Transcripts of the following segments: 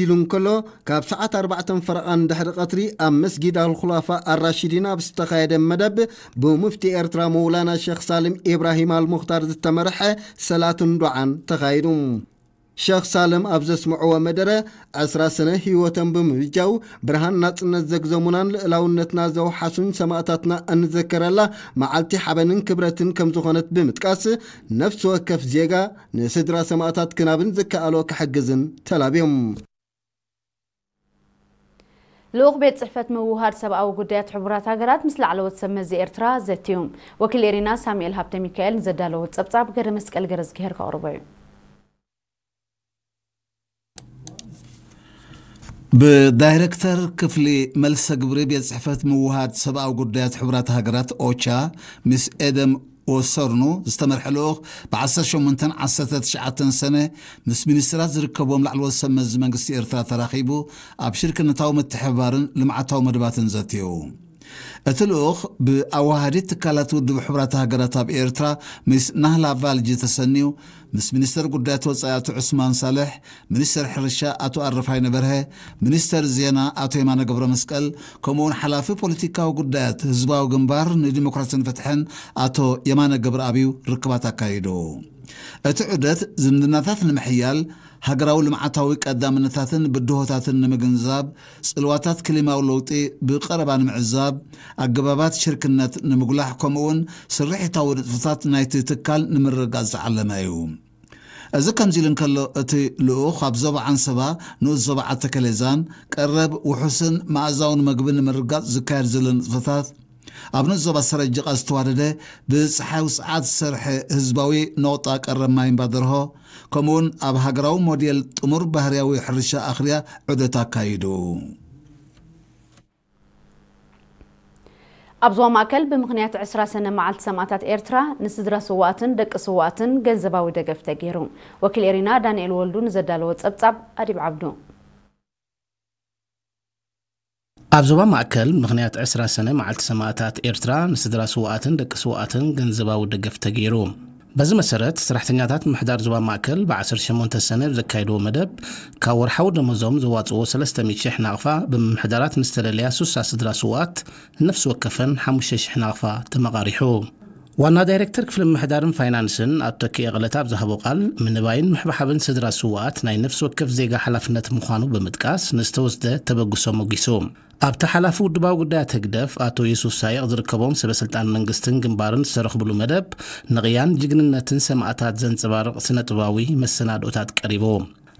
ኢሉ እንከሎ፣ ካብ ሰዓት ኣርባዕተ ፈረቓ ንድሕሪ ቀትሪ ኣብ መስጊድ ኣልኹላፋ ኣራሺዲን ኣብ ዝተኻየደ መደብ፣ ብሙፍቲ ኤርትራ መውላና ሸኽ ሳልም ኢብራሂም ኣልሙኽታር ዝተመርሐ ሰላትን ዱዓን ተኻይዱ። ሸኽ ሳልም ኣብ ዘስምዕዎ መደረ፣ ዕስራ ሰነ ህይወቶም ብምብጃው ብርሃን ናጽነት ዘግዘሙናን ልእላውነትና ዘውሓሱን ሰማእታትና እንዘከረላ መዓልቲ ሓበንን ክብረትን ከም ዝኾነት ብምጥቃስ፣ ነፍሲ ወከፍ ዜጋ ንስድራ ሰማእታት ክናብን ዝከኣሎ ክሕግዝን ተላብዮም። ልኡኽ ቤት ጽሕፈት ምውሃድ ሰብኣዊ ጉዳያት ሕቡራት ሃገራት ምስ ላዕለዎት ሰብ መዚ ኤርትራ ዘትዩ። ወኪል ኤሪና ሳሙኤል ሃብተ ሚካኤል ንዘዳለዎ ጸብጻብ ገረ መስቀል ገረዝግሄር ከቕርቦ እዩ። ብዳይሬክተር ክፍሊ መልሰ ግብሪ ቤት ጽሕፈት ምውሃድ ሰብኣዊ ጉዳያት ሕቡራት ሃገራት ኦቻ፣ ሚስ ኤደም ወሰርኑ ዝተመርሐ ልኡኽ ብ ዓሰርተ ሸሞንተን ዓሰርተ ትሽዓተን ሰነ ምስ ሚኒስትራት ዝርከብዎም ላዕለዎት ሰብ መዚ መንግስቲ ኤርትራ ተራኺቡ ኣብ ሽርክነታዊ ምትሕብባርን ልምዓታዊ መደባትን ዘትዩ። እቲ ልኡኽ ብኣዋሃዲት ትካላት ውድብ ሕቡራት ሃገራት ኣብ ኤርትራ ሚስ ናህላ ቫልጂ ተሰንዩ፣ ምስ ሚኒስተር ጉዳያት ወጻኢ ኣቶ ዑስማን ሳልሕ፣ ሚኒስተር ሕርሻ ኣቶ ኣረፋይነ በርሀ፣ ሚኒስተር ዜና ኣቶ የማነ ገብረ መስቀል፣ ከምኡውን ሓላፊ ፖለቲካዊ ጉዳያት ህዝባዊ ግንባር ንዲሞክራሲን ፍትሕን ኣቶ የማነ ገብረኣብዩ ርክባት ኣካይዱ። እቲ ዑደት ዝምድናታት ንምሕያል፣ ሃገራዊ ልምዓታዊ ቀዳምነታትን ብድሆታትን ንምግንዛብ፣ ጽልዋታት ክሊማዊ ለውጢ ብቐረባ ንምዕዛብ፣ ኣገባባት ሽርክነት ንምጉላሕ፣ ከምኡውን ስርሒታዊ ንጥፈታት ናይቲ ትካል ንምርግጋጽ ዝዓለመ እዩ። እዚ ከምዚ ኢሉ እንከሎ፣ እቲ ልኡኽ ኣብ ዞባ ዓንሰባ፣ ንኡስ ዞባ ዓተከሌዛን ቀረብ ውሑስን መኣዛውን መግቢ ንምርግጋጽ ዝካየድ ዘሎ ንጥፈታት፣ ኣብ ንኡስ ዞባ ሰረጅቓ ዝተዋደደ ብጸሓይ ውጽዓት ዝሰርሐ ህዝባዊ ነቑጣ ቀረብ ማይ እምባደርሆ፣ ከምኡውን ኣብ ሃገራዊ ሞዴል ጥሙር ባህርያዊ ሕርሻ ኣኽርያ ዑደት ኣካይዱ። ኣብ ዞባ ማእከል ብምኽንያት ዕስራ ሰነ መዓልቲ ሰማእታት ኤርትራ ንስድራ ስዋኣትን ደቂ ስዋኣትን ገንዘባዊ ደገፍ ተገይሩ። ወኪል ኤሪና ዳንኤል ወልዱ ንዘዳለዎ ጸብጻብ ኣዲብ ዓብዱ። ኣብ ዞባ ማእከል ምኽንያት ዕስራ ሰነ መዓልቲ ሰማእታት ኤርትራ ንስድራ ስዋኣትን ደቂ ስዋኣትን ገንዘባዊ ደገፍ ተገይሩ። በዚ መሰረት፣ ሰራሕተኛታት ምምሕዳር ዞባ ማእከል ብ ዓሰርተ ሸሞንተ ሰነ ብዘካየድዎ መደብ፣ ካብ ወርሓዊ ደሞዞም ዘዋጽእዎ ሰለስተ ሚእቲ ሽሕ ናቕፋ ብምምሕዳራት ንዝተለለያ ሱሳ ስድራ ስውኣት ንነፍሲ ወከፈን ሓሙሽተ ሽሕ ናቕፋ ተመቓሪሑ። ዋና ዳይሬክተር ክፍሊ ምምሕዳርን ፋይናንስን ኣቶ ተኪኤ ቀለታ ኣብ ዝሃቦ ቃል፣ ምንባይን ምሕብሓብን ስድራ ስውኣት ናይ ነፍሲ ወከፍ ዜጋ ሓላፍነት ምዃኑ ብምጥቃስ፣ ንዝተወስደ ተበግሶ ሞጊሱ። ኣብቲ ሓላፊ ውድባዊ ጉዳያት ህግደፍ ኣቶ የሱስ ሳይቕ ዝርከቦም ሰበ ስልጣን መንግስትን ግንባርን ዝተረኽብሉ መደብ፣ ንቕያን ጅግንነትን ሰማእታት ዘንጸባርቕ ስነ ጥበባዊ መሰናድኦታት ቀሪቡ።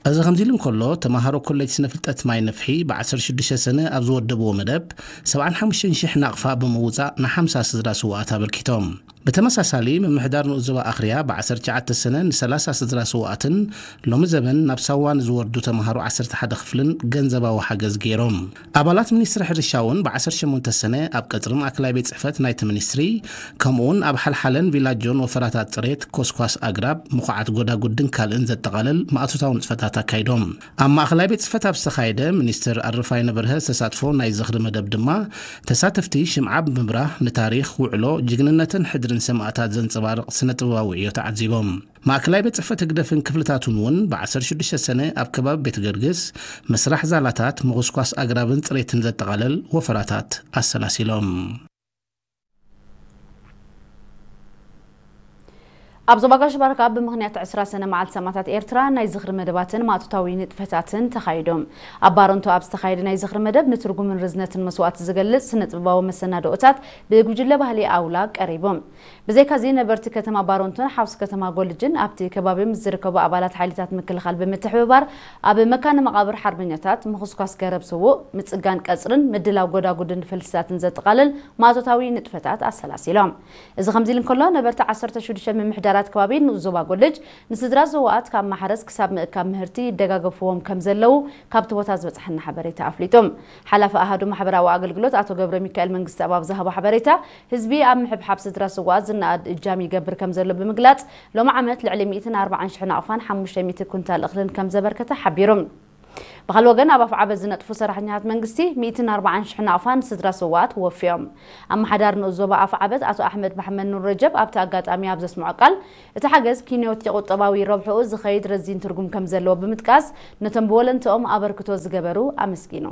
እዚ ከምዚ ኢሉ እንከሎ፣ ተመሃሮ ኮሌጅ ስነ ፍልጠት ማይ ነፍሒ ብ ዓሰርተ ሽዱሽተ ሰነ ኣብ ዝወደብዎ መደብ፣ ሰብዓን ሓሙሽተን ሽሕ ናቕፋ ብምውጻእ ንሓምሳ ስድራ ስውኣት ኣበርኪቶም። ብተመሳሳሊ፣ ምምሕዳር ንኡስ ዞባ ኣኽርያ ብ ዓሰርተ ትሽዓተ ሰነ ንሰላሳ ስድራ ስውኣትን ሎሚ ዘበን ናብ ሳዋ ንዝወርዱ ተምሃሮ ዓሰርተ ሓደ ክፍልን ገንዘባዊ ሓገዝ ገይሮም። ኣባላት ሚኒስትሪ ሕርሻ እውን ብ ዓሰርተ ሸሞንተ ሰነ ኣብ ቀጽሪ ማእከላይ ቤት ጽሕፈት ናይቲ ሚኒስትሪ፣ ከምኡውን ኣብ ሓልሓለን ቪላጆን ወፈራታት ጽሬት፣ ኮስኳስ ኣግራብ፣ ምኹዓት ጎዳጉድን ካልእን ዘጠቓልል ማእቶታዊ ንጥፈታት ኣካይዶም። ኣብ ማእከላይ ቤት ጽሕፈት ኣብ ዝተኻየደ ሚኒስትር ኣረፋይነ በርሀ ዝተሳትፎ ናይ ዝኽሪ መደብ ድማ፣ ተሳተፍቲ ሽምዓ ብምብራህ ንታሪኽ፣ ውዕሎ፣ ጅግንነትን ሕድርን ሰማእታት ዘንጸባርቕ ስነ ጥበባዊ ዕዮ ተዓዚቦም። ማእከላይ ቤት ጽሕፈት ህግደፍን ክፍልታቱን እውን ብ ዓሰርተ ሽዱሽተ ሰነ ኣብ ከባቢ ቤት ገርግስ ምስራሕ ዛላታት፣ ምኹስኳስ ኣግራብን ጽሬትን ዘጠቓለል ወፈራታት ኣሰላሲሎም። ኣብ ዞባ ጋሽ ባርካ ብምኽንያት ዕስራ ሰነ መዓልቲ ሰማእታት ኤርትራ ናይ ዝኽሪ መደባትን ማእቶታዊ ንጥፈታትን ተኻይዶም። ኣብ ባረንቶ ኣብ ዝተኻየደ ናይ ዝኽሪ መደብ ንትርጉምን ርዝነትን መስዋእቲ ዝገልጽ ስነ ጥበባዊ መሰናድኦታት ብጉጅለ ባህሊ ኣውላ ቀሪቦም። ብዘይካዚ ነበርቲ ከተማ ባረንቶን ሓውሲ ከተማ ጎልጅን ኣብቲ ከባቢ ምስ ዝርከቡ ኣባላት ሓይልታት ምክልኻል ብምትሕብባር ኣብ መካነ መቓብር ሓርበኛታት ምኹስኳስ ገረብ ስዉእ፣ ምጽጋን ቀጽርን ምድላው ጎዳጉድን ፈልስታትን ዘጠቓልል ማእቶታዊ ንጥፈታት ኣሰላሲሎም። እዚ ከምዚ ኢሉ እንከሎ፣ ነበርቲ ዓሰርተ ሽዱሽተ ምምሕዳራት ከባቢ ንኡስ ዞባ ጎልጅ ንስድራ ስውኣት ካብ ማሕረስ ክሳብ ምእካብ ምህርቲ ይደጋገፍዎም ከም ዘለዉ ካብቲ ቦታ ዝበጽሓና ሓበሬታ ኣፍሊጡ። ሓላፊ ኣሃዱ ማሕበራዊ ኣገልግሎት ኣቶ ገብረ ሚካኤል መንግስተኣብ ኣብ ዝሃቦ ሓበሬታ፣ ህዝቢ ኣብ ምሕብሓብ ስድራ ስውኣት ዝነኣድ እጃም ይገብር ከም ዘሎ ብምግላጽ፣ ሎሚ ዓመት ልዕሊ ሚእትን ኣርባዓን ሽሕ ናቕፋን ሓሙሽተ ሚእቲ ኩንታል እኽልን ከም ዘበርከተ ሓቢሩ። ብኻል ወገን ኣብ ኣፍዓበት ዝነጥፉ ሰራሕኛታት መንግስቲ ሚእትን ኣርባዓን ሽሕ ናቕፋ ንስድራ ስዋኣት ወፍዮም። ኣመሓዳሪ ንኡስ ዞባ ኣፍዓበት ኣቶ ኣሕመድ መሓመድ ኑር ረጀብ ኣብቲ ኣጋጣሚ ኣብ ዘስምዖ ቃል፣ እቲ ሓገዝ ኪንዮት ቁጠባዊ ረብሕኡ ዝኸይድ ረዚን ትርጉም ከም ዘለዎ ብምጥቃስ፣ ነቶም ብወለንትኦም ኣበርክቶ ዝገበሩ ኣመስጊኑ።